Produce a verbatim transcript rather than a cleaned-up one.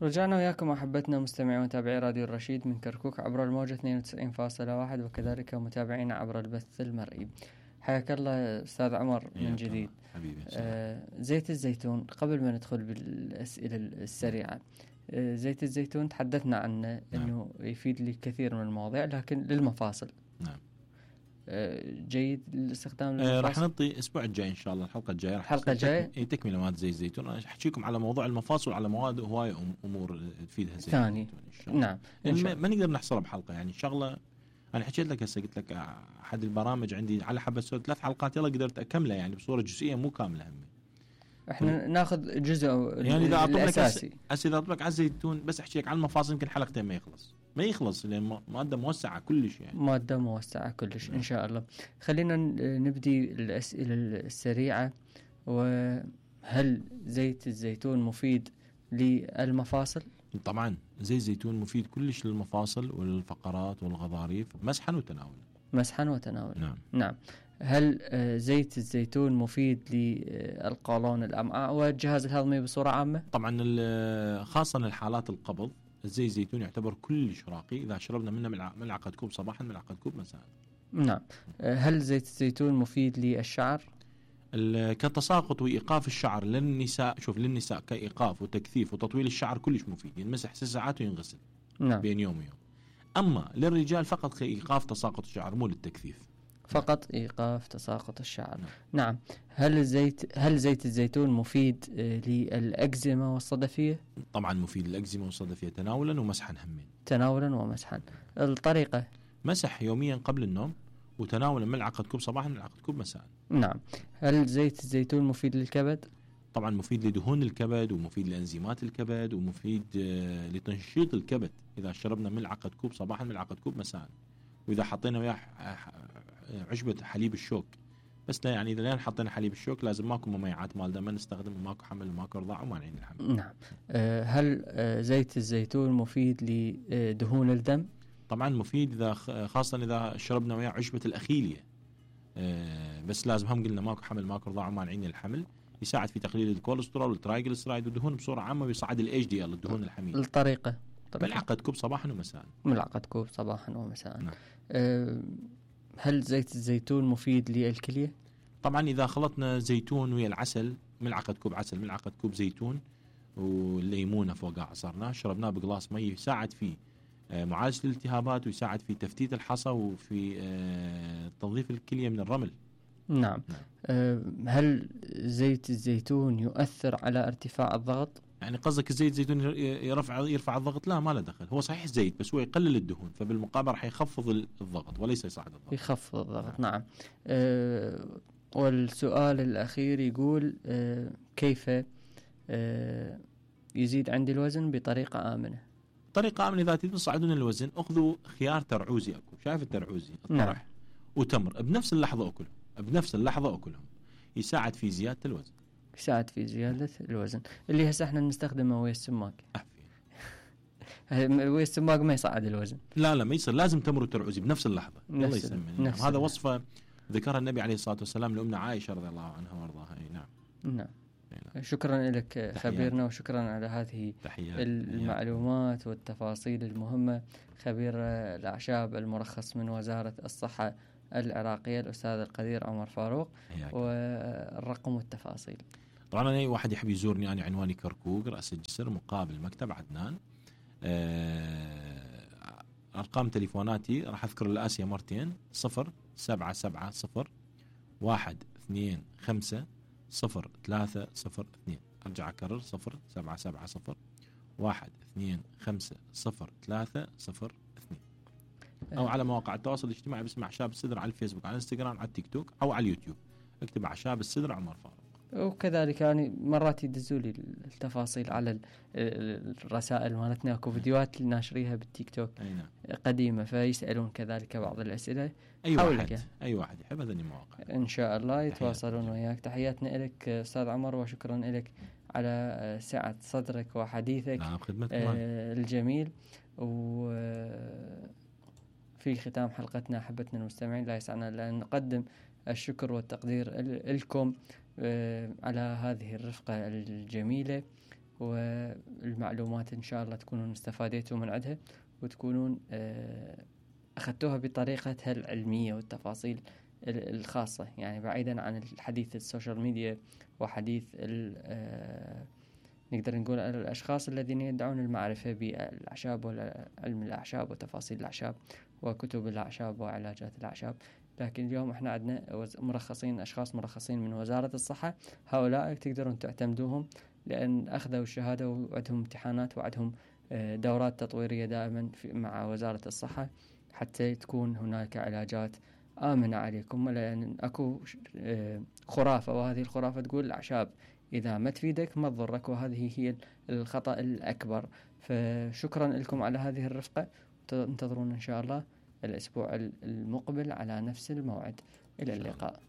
رجعنا وياكم أحبتنا مستمعي ومتابعي راديو الرشيد من كركوك عبر الموجة اثنين وتسعين فاصلة واحد، وكذلك متابعينا عبر البث المرئي. حياك الله أستاذ عمر من جديد. حبيبي. آه زيت الزيتون، قبل ما ندخل بالأسئلة السريعة، آه زيت الزيتون تحدثنا عنه أنه نعم. يفيد لي كثير من المواضيع، لكن للمفاصل نعم جيد الاستخدام آه راح نعطي الاسبوع الجاي ان شاء الله، الحلقه الجايه راح الحلقه الجايه اي تكمله مال زيت الزيتون. انا احكيكم على موضوع المفاصل وعلى مواد هوايه امور تفيدها زيت ثاني الزيتون ان شاء الله. نعم يعني ما, ما نقدر نحصرها بحلقه، يعني شغله انا حكيت لك هسه، قلت لك احد البرامج عندي على حبه سوى ثلاث حلقات، يلا قدرت اكملها يعني بصوره جزئيه مو كامله هم. احنا ناخذ جزء يعني اذا اطلب لك اساسي هسه اذا اطلب لك على الزيتون بس احكي لك عن المفاصل يمكن حلقتين ما يخلص ما يخلص لان ماده موسعه كلش، يعني ماده موسعه كلش ان شاء الله. خلينا نبدي الاسئله السريعه. وهل زيت الزيتون مفيد للمفاصل؟ طبعا زيت الزيتون مفيد كلش للمفاصل والفقرات والغضاريف مسحا وتناولا. مسحا وتناولا نعم. نعم. هل زيت الزيتون مفيد للقولون الأمعاء والجهاز الهضمي بصورة عامة؟ طبعا خاصة للحالات القبض الزيت الزيتون يعتبر كلش راقي إذا شربنا منه ملعقة كوب صباحا ملعقة كوب مساء. نعم. هل زيت الزيتون مفيد للشعر؟ كتساقط وإيقاف الشعر للنساء، شوف للنساء كإيقاف وتكثيف وتطويل الشعر كلش مفيد، ينمسح ست ساعات وينغسل نعم. بين يوم ويوم. أما للرجال فقط كإيقاف تساقط الشعر مو للتكثيف، فقط إيقاف تساقط الشعر. نعم. نعم. هل الزيت هل زيت الزيتون مفيد للأكزيما والصدفية؟ طبعا مفيد للأكزيما والصدفية تناولا ومسحا همين. تناولا ومسحا. الطريقة مسح يوميا قبل النوم وتناولا ملعقة كوب صباحا ملعقة كوب مساء. نعم. هل زيت الزيتون مفيد للكبد؟ طبعا مفيد لدهون الكبد ومفيد لأنزيمات الكبد ومفيد لتنشيط الكبد إذا شربنا ملعقة كوب صباحا ملعقة كوب مساء. وإذا حطينا وياه عشبة حليب الشوك بس، لا يعني إذا لين حطينا حليب الشوك لازم ماكو مميعات مال دم، ما نستخدم ماكو حمل وماكو رضاع وما نعين الحمل. نعم. أه هل أه زيت الزيتون مفيد لدهون الدم؟ طبعا مفيد إذا خاصة إذا شربنا وياه عشبة الأخيلية، أه بس لازم هم قلنا ماكو حمل ماكو رضاع وما نعين الحمل. يساعد في تقليل الكوليسترول والترايجليسرايد والدهون بصورة عامة، ويصعد الاتش دي ال الدهون الحميدة. الطريقة ملعقة كوب صباحا ومساء. ملعقة كوب صباحا ومساء. نعم. أه هل زيت الزيتون مفيد للكلية؟ طبعا إذا خلطنا زيتون ويا العسل، ملعقة كوب عسل ملعقة كوب زيتون والليمونة فوقها عصرناه شربناه بقلاص مي، يساعد في معالجة الالتهابات ويساعد في تفتيت الحصى وفي تنظيف الكلية من الرمل. نعم, نعم. أه هل زيت الزيتون يؤثر على ارتفاع الضغط؟ يعني قصدك الزيت الزيتون يرفع يرفع الضغط؟ لا، ما له دخل، هو صحيح زيت بس هو يقلل الدهون، فبالمقابل راح يخفض الضغط وليس يصعد الضغط. يخفض الضغط. نعم, نعم. أه والسؤال الأخير يقول أه كيف أه يزيد عندي الوزن بطريقة آمنة؟ طريقة آمنة إذا تريدون تصعدون الوزن أخذوا خيار ترعوزي، أكو شايف الترعوزي الطرح؟ نعم. وتمر بنفس اللحظة أكلهم بنفس اللحظة أكلهم يساعد في زيادة الوزن. يساعد في زيادة الوزن اللي هسه احنا نستخدمه ويا السماق. ويا السماق ما يصعد الوزن. لا لا ما يصير، لازم تمر وترعوزي بنفس اللحظة. الله يسلمك. هذا وصفة ذكرها النبي عليه الصلاة والسلام لأمنا عائشة رضي الله عنها وارضاها. نعم. نعم. شكرا لك خبيرنا، وشكرا على هذه تحيات. المعلومات تحيات. والتفاصيل المهمة. خبير الأعشاب المرخص من وزارة الصحة العراقية الأستاذ القدير عمر فاروق، والرقم والتفاصيل. طبعا أنا أي واحد يحب يزورني، أنا عنواني كركوك رأس الجسر مقابل مكتب عدنان. أرقام تليفوناتي راح أذكر الآسيا مرتين: صفر سبعة سبعة صفر واحد اثنين خمسة صفر ثلاثة صفر اثنين. أرجع أكرر: صفر سبعة سبعة صفر واحد اثنين خمسة صفر ثلاثة صفر اثنين. أو على مواقع التواصل الاجتماعي باسم أعشاب السدر على الفيسبوك، على الانستغرام، على التيك توك، أو على اليوتيوب اكتب أعشاب السدر عمر فاروق. وكذلك يعني مرات يدزوا لي التفاصيل على الرسائل مالتنا، اكو فيديوهات ناشريها بالتيك توك نعم. قديمة، فيسألون كذلك بعض الأسئلة. أي واحد يعني. أي واحد يحب هذه المواقع إن شاء الله يتواصلون وياك. تحياتنا لك أستاذ عمر، وشكرا لك على سعة صدرك وحديثك نعم آه الجميل. وفي ختام حلقتنا أحبتنا المستمعين لا يسعنا إلا أن نقدم الشكر والتقدير لكم على هذه الرفقة الجميلة والمعلومات إن شاء الله تكونون استفاديتوا من عندها وتكونون أخذتوها بطريقتها العلمية والتفاصيل الخاصة، يعني بعيدا عن الحديث السوشيال ميديا وحديث نقدر نقول الأشخاص الذين يدعون المعرفة بالأعشاب وعلم الأعشاب وتفاصيل الأعشاب وكتب الأعشاب وعلاجات الأعشاب. لكن اليوم احنا عندنا مرخصين، أشخاص مرخصين من وزارة الصحة، هؤلاء تقدرون تعتمدوهم لأن أخذوا الشهادة وعندهم امتحانات وعندهم دورات تطويرية دائما مع وزارة الصحة حتى تكون هناك علاجات آمنة عليكم. لأن أكو خرافة، وهذه الخرافة تقول الأعشاب إذا ما تفيدك ما تضرك، وهذه هي الخطأ الأكبر. فشكرا لكم على هذه الرفقة، انتظرونا إن شاء الله الأسبوع المقبل على نفس الموعد. إلى اللقاء.